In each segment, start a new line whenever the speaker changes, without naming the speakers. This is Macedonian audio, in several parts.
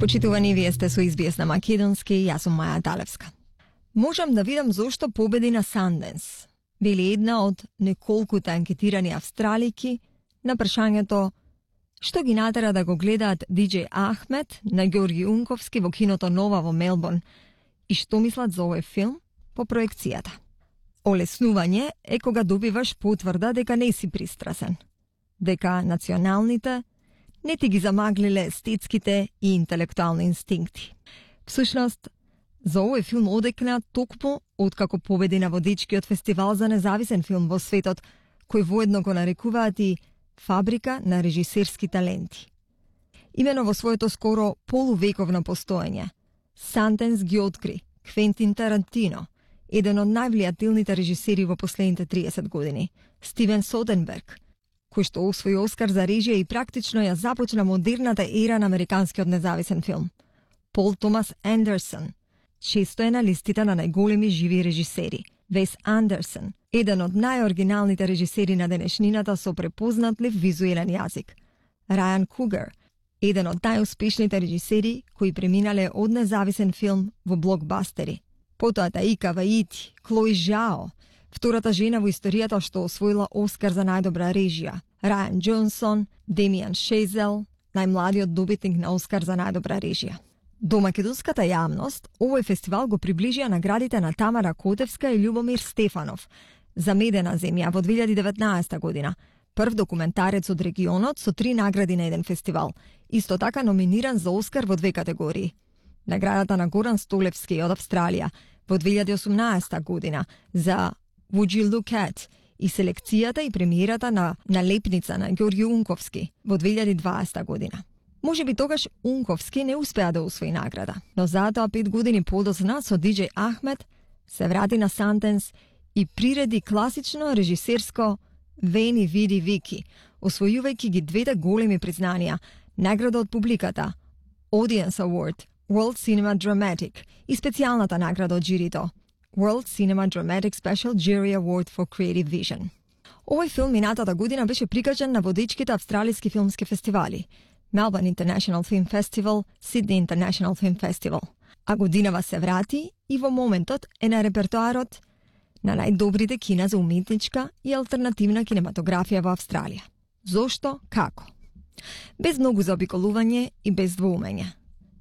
Почитувани, вие сте со SBS на македонски, јас сум Маја Далевска. Можам да видам зошто победи на Санденс. Били една од неколкута анкетирани австралики на прашањето што ги натера да го гледаат DJ Ахмед на Ѓорги Унковски во киното Нова во Мелбурн и што мислат за овој филм по проекцијата. Олеснување е кога добиваш потврда дека не си пристрасен, дека националните не ти ги замаглиле естетските и интелектуални инстинкти. Всушност, за овој филм одекна токму откако победи на водичкиот фестивал за независен филм во светот, кој воедно го нарекуваат и фабрика на режисерски таленти. Имено во своето скоро полувековно постоење, Санденс ги откри Квентин Тарантино, еден од највлијателните режисери во последните 30 години, Стивен Содерберг, кој што освои Оскар за режија и практично ја започна модерната ера на американскиот независен филм, Пол Томас Андерсон, често е на листите на најголеми живи режисери, Вес Андерсон, еден од најоригиналните режисери на денешнината со препознатлив визуелен јазик, Рајан Кугер, еден од најуспешните режисери кои преминале од независен филм во блокбастери. Потоа Таика Ваити, Клои Жао, втората жена во историјата што освоила Оскар за најдобра режија, Рајан Джонсон, Демијан Шезел, најмладиот добитник на Оскар за најдобра режија. До македонската јавност, овој фестивал го приближија наградите на Тамара Котевска и Љубомир Стефанов за Медена земја во 2019 година, прв документарец од регионот со 3 награди на еден фестивал, исто така номиниран за Оскар во 2 категории. Наградата на Горан Столевски од Австралија во 2018 година за Would You Look At и селекцијата и премиерата на Лепница на Ѓорги Унковски во 2020 година. Може би тогаш Унковски не успеа да освои награда, но затоа 5 години подоцна со DJ Ахмед се врати на Санденс и приреди класично режисерско Вени Види Вики, освојувајќи ги двете големи признанија, награда од публиката, Audience Award, World Cinema Dramatic и специјалната награда од жирито, World Cinema Dramatic Special Jury Award for Creative Vision. Овој филм минатата година беше прикажан на водичките австралиски филмски фестивали, Melbourne International Film Festival, Sydney International Film Festival. А годинава се врати и во моментот е на репертоарот на најдобрите кина за уметничка и алтернативна кинематографија во Австралија. Зошто? Како? Без многу заобиколување и без двоумење.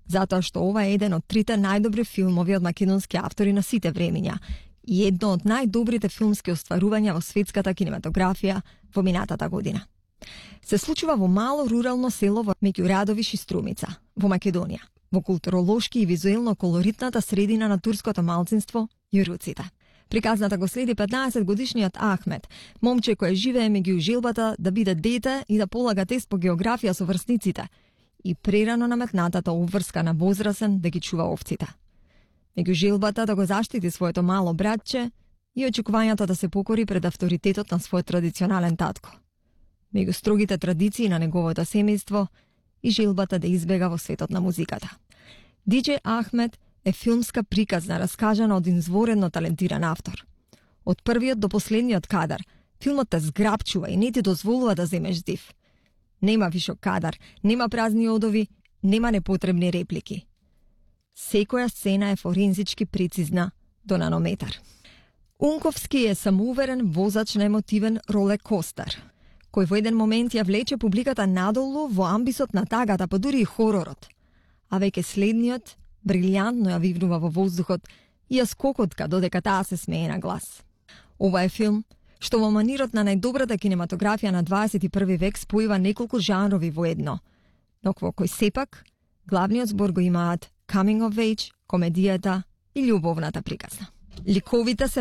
Затоа што ова е еден од 3 најдобри филмови од македонски автори на сите времиња и едно од најдобрите филмски остварувања во светската кинематографија во минатата година. Се случува во мало рурално село во меѓу Радовиш и Струмица, во Македонија, во културолошки и визуелно колоритната средина на турското малцинство јуруците. Приказната го следи 15 годишниот Ахмед, момче кој живее меѓу желбата да биде дете и да полага тест по географија со врсниците и прерано наметнатата обврска на возрасен да ги чува овците. Меѓу желбата да го заштити своето мало братче и очекувањето да се покори пред авторитетот на својот традиционален татко. Меѓу строгите традиции на неговото семејство и желбата да избега во светот на музиката. DJ Ахмед е филмска приказна раскажана од изворено талентиран автор. Од првиот до последниот кадар, филмот те зграпчува и не ти дозволува да земеш див. Нема вишок кадар, нема празни одови, нема непотребни реплики. Секоја сцена е форензички прецизна до нанометар. Унковски е самоуверен возач на емотивен роле-костер, кој во еден момент ја влече публиката надолу во амбисот на тагата, па дури и хоророт, а веќе следниот брилјантно ја вивнува во воздухот и ја скокотка додека таа се смее на глас. Ова е филм што во манирот на најдобрата кинематографија на 21 век спојува неколку жанрови во едно, но во кој сепак главниот збор го имаат coming of age, комедијата и љубовната приказна. Ликовите се